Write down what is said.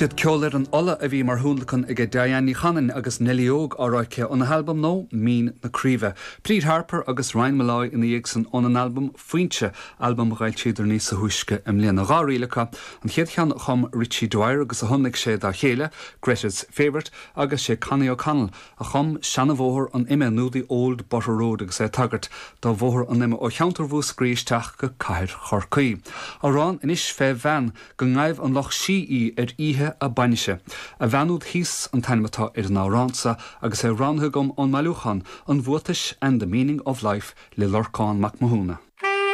Siad Ceol ar an Ola a bhí mar thionlacan aige Diane Ní Chanainn agus Neilí Óg á rá aici óna halbam nua Mín na Craoibhe. Bríd Harper agus Ryan Molloy ina dhiaidh san óna n-albam Foinse, albam a dh'fhoilsíodar níosa thúisce i mbliana. 2 ríl acu, an chéad cheann a chum Richie Dwyer agus a thionlaic sé dá chéile, Greta's Favourite, agus sé Connie O'Connell a chum Seanabhóthar an Ime nó The Old Butter Road agus é ag tagairt do Bhóthar an Ime ó cheantar Mhúscraí isteach go cathair Chorcaí. Amhrán anois fé bhean go ngabh an lucht sí í ar oíche a bainise. A bhean úd thíos an t-ainm atá ar an amhrán sa agus é roghnaithe agam ón mbailiúchán An Bhuatais and the Meaning of Life le Lorcán Mac Mathúna.